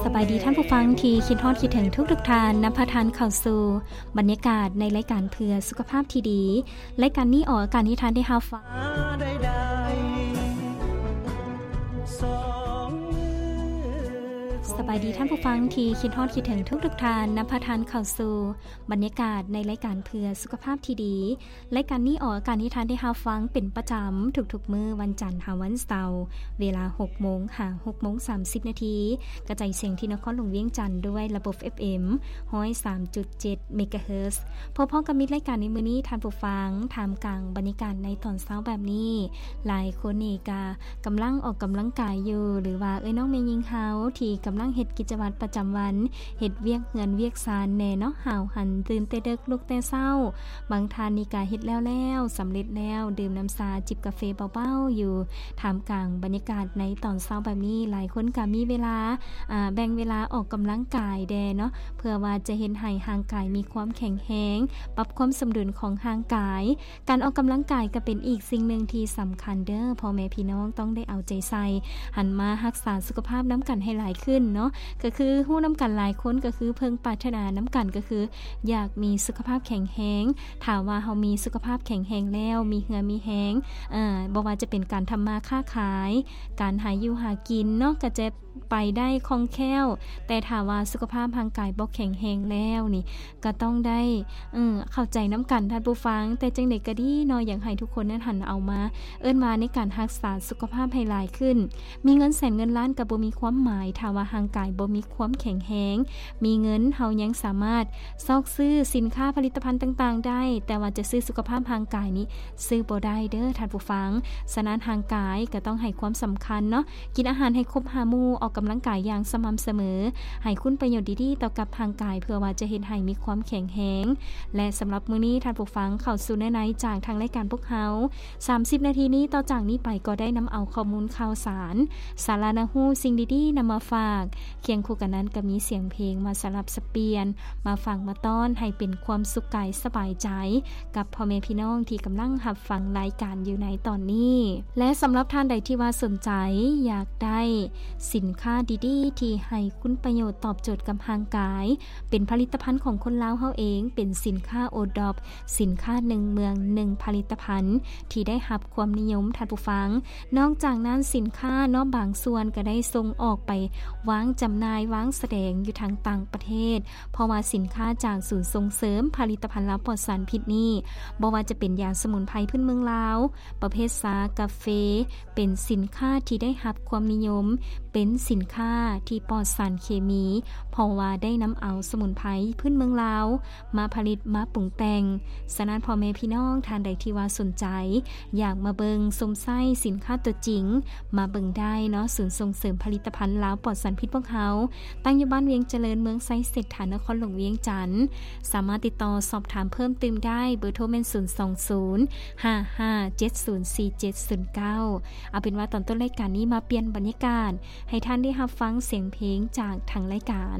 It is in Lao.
ສະບາຍດີທ່ານຜູ້ຟັງທີ່ຄິດຮອດຄິດເຖິງທຸກໆທ່ານ, ນຳພາທ່ານເຂົ້າສູ່ບັນຍາກາດໃນລາຍການເພື່ອສຸຂະພາບທີ່ດີ. ລາຍການນີ້ອອກອາກາດໃຫ້ທ່ານໄດ້ຮັບຟັງ. ສະບາຍດີທ່ານຜູ້ຟັງທີ່ຄິດຮອດຄິດເຖິງທຸກໆທ່ານ, ນຳພາທ່ານເຂົ້າສູ່ບັນຍາກາດໃນລາຍການເພື່ອສຸຂະພາບທີ່ດີ. ລາຍການນີ້ອອກອາກາດໃຫ້ທ່ານໄດ້ຮັບຟັງເປັນປະຈຳທຸກໆມື້ວັນຈັນຫາວັນເສົາ ເວລາຫົກໂມງຫາຫົກໂມງສາມສິບນາທີ, ກະຈາຍສຽງທີ່ນະຄອນຫຼວງວຽງຈັນດ້ວຍລະບົບ ເອຟເອັມ ຮ້ອຍສາມຈຸດເຈັດ ເມກາເຮີດ. ພໍ້ໆກັບມິດລາຍການໃນມື້ນີ້ທ່ານຜູ້ຟັງ, ທ່າມກາງບັນຍາກາດໃນຕອນເຊົ້າແບບນີ້, ຫຼາຍຄົນນີ້ກະກຳລັງອອກກຳລັງກາຍຢູ່ ຫຼືວ່າເອື້ອຍນ້ອງແມ່ຍິງເຮົາທີ່ກຳລັງເຮັດກິດຈະວັດປະຈຳວັນ, ເຮັດວຽກເຮືອນວຽກຊານແດ່ເນາະ, ຫາວຫັນຕື່ນແຕ່ເດິກລຸກແຕ່ເຊົ້າ. ບາງທ່ານນີ້ກະເຮັດແລ້ວໆ, ສຳເລັດແລ້ວ, ດື່ມນ້ຳຊາ, ຈິບກາເຟເບົາໆຢູ່. ທ່າມກາງບັນຍາກາດໃນຕອນເຊົ້າແບບນີ້, ຫຼາຍຄົນກະມີເວລາ, ອາ, ແບ່ງເວລາອອກກຳລັງກາຍແດ່ເນາະ, ເພື່ອວ່າຈະເຮັດໃຫ້ຮ່າງກາຍມີຄວາມແຂງແຮງ, ປັບຄວາມສົມດຸນຂອງຮ່າງກາຍ. ການອອກກຳລັງກາຍກໍເປັນອີກສິ່ງໜຶ່ງທີ່ສຳຄັນເດີ້ ພໍ່ແມ່ພີ່ນ້ອງຕ້ອງໄດ້ເອົາໃຈໃສ່, ຫັນມາຮັກສາສຸຂະພາບນຳກັນໃຫ້ຫຼາຍຂຶ້ນເນາະ. ກໍຄືຮູ້ນຳກັນຫຼາຍຄົນ ກໍຄືເພິ່ງປາດຖະໜານຳກັນ ກໍຄືຢາກມີສຸຂະພາບແຂງແຮງ. ຖ້າວ່າເຮົາມີສຸຂະພາບແຂງແຮງແລ້ວ, ມີເຫື່ອມີແຮງ, ເອີ, ບໍ່ວ່າຈະເປັນການທຳມາຄ້າຂາຍ, ການຫາຢູ່ຫາກິນເນາະ, ກໍຈະ ໄປໄດ້ຄ່ອງແຄ້ວ, ແຕ່ຖ້າວ່າສຸຂະພາບຮ່າງກາຍບໍ່ແຂງແຮງແລ້ວນີ້ ກໍຕ້ອງໄດ້, ເອີ, ເຂົ້າໃຈນຳກັນທ່ານຜູ້ຟັງ. ແຕ່ຈັ່ງໃດກໍດີເນາະ, ຢາກໃຫ້ທຸກຄົນນັ້ນຫັນເອົາມາ, ເອີ້ນວ່າໃນການຮັກສາສຸຂະພາບໃຫ້ຫຼາຍຂຶ້ນ. ມີເງິນແສນເງິນລ້ານກໍບໍ່ມີຄວາມໝາຍ ຖ້າວ່າຮ່າງກາຍບໍ່ມີຄວາມແຂງແຮງ. ມີເງິນເຮົາຍັງສາມາດຊອກຊື້ສິນຄ້າຜະລິດຕະພັນຕ່າງໆໄດ້, ແຕ່ວ່າຈະຊື້ສຸຂະພາບຮ່າງກາຍນີ້ ຊື້ບໍ່ໄດ້ເດີ້ທ່ານຜູ້ຟັງ. ສະນັ້ນຮ່າງກາຍກໍຕ້ອງໃຫ້ຄວາມສຳຄັນເນາະ, ກິນອາຫານໃຫ້ຄົບຫ້າໝູ່, ອອກກຳລັງກາຍຢ່າງສະໝ່ຳສະເໝີ, ໃຫ້ຄຸນປະໂຫຍດດີໆຕໍ່ກັບຮ່າງກາຍ ເພື່ອວ່າຈະເຮັດໃຫ້ມີຄວາມແຂງແຮງ. ແລະ ສຳລັບມື້ນີ້ທ່ານຜູ້ຟັງເຂົ້າສູ່ເນື້ອໃນຈາກທາງລາຍການພວກເຮົາ. ສາມສິບນາທີນີ້, ຕໍ່ຈາກນີ້ໄປກໍໄດ້ນຳເອົາຂໍ້ມູນຂ່າວສານ, ສາລະໜ້າຮູ້, ສິ່ງດີໆນຳມາຝາກ. ຄຽງຄູ່ກັນນັ້ນກໍມີສຽງເພງມາສະຫຼັບສະປ່ຽນ, ມາຟັງມາຕ້ອນໃຫ້ເປັນຄວາມສຸກກາຍສະບາຍໃຈ ກັບພໍ່ແມ່ພີ່ນ້ອງທີ່ກຳລັງຮັບຟັງລາຍການຢູ່ໃນຕອນນີ້. ແລະ ສຳລັບທ່ານໃດທີ່ວ່າສົນໃຈຢາກໄດ້ສິນຄ້າດີໆ ທີ່ໃຫ້ຄຸນປະໂຫຍດຕອບໂຈດກັບຮ່າງກາຍ, ເປັນຜະລິດຕະພັນຂອງຄົນລາວເຮົາເອງ, ເປັນສິນຄ້າໂອດອບ, ສິນຄ້າໜຶ່ງເມືອງໜຶ່ງຜະລິດຕະພັນ ທີ່ໄດ້ຮັບຄວາມນິຍົມ, ທ່ານຜູ້ຟັງ. ນອກຈາກນັ້ນ, ສິນຄ້າເນາະ ບາງສ່ວນກໍໄດ້ສົ່ງອອກໄປວາງຈຳໜ່າຍ, ວາງສະແດງຢູ່ທາງຕ່າງປະເທດ, ເພາະວ່າສິນຄ້າຈາກສູນສົ່ງເສີມຜະລິດຕະພັນລາວປອດສານພິດນີ້, ບໍ່ວ່າຈະເປັນຢາສະໝຸນໄພພື້ນເມືອງລາວ, ປະເພດຊາ, ກາເຟ, ເປັນສິນຄ້າທີ່ໄດ້ຮັບຄວາມນິຍົມ, ເປັນສິນຄ້າທີ່ປອດສານເຄມີ, ເພາະວ່າໄດ້ນຳເອົາສະໝຸນໄພພື້ນເມືອງລາວ ມາຜະລິດມາປຸງແຕ່ງ. ສະນັ້ນ ພໍ່ແມ່ພີ່ນ້ອງທ່ານໃດທີ່ວ່າສົນໃຈ ຢາກມາເບິ່ງຊົມໃຊ້ສິນຄ້າຕົວຈິງ ມາເບິ່ງໄດ້ເນາະ. ສູນສົ່ງເສີມຜະລິດຕະພັນລາວປອດສານພິດພວກເຮົາ ຕັ້ງຢູ່ບ້ານວຽງຈະເລີນ, ເມືອງໄຊເສດຖາ, ນະຄອນຫຼວງວຽງຈັນ. ສາມາດຕິດຕໍ່ສອບຖາມເພີ່ມຕື່ມໄດ້, ເບີໂທແມ່ນ ສູນສອງສູນ ຫ້າຫ້າເຈັດສູນສີ່ເຈັດສູນເກົ້າ. ເອົາເປັນວ່າຕອນຕົ້ນລາຍການນີ້ ມາປ່ຽນບັນຍາກາດ ໃຫ້ທ່ານໄດ້ຮັບຟັງສຽງເພງຈາກທາງລາຍການ.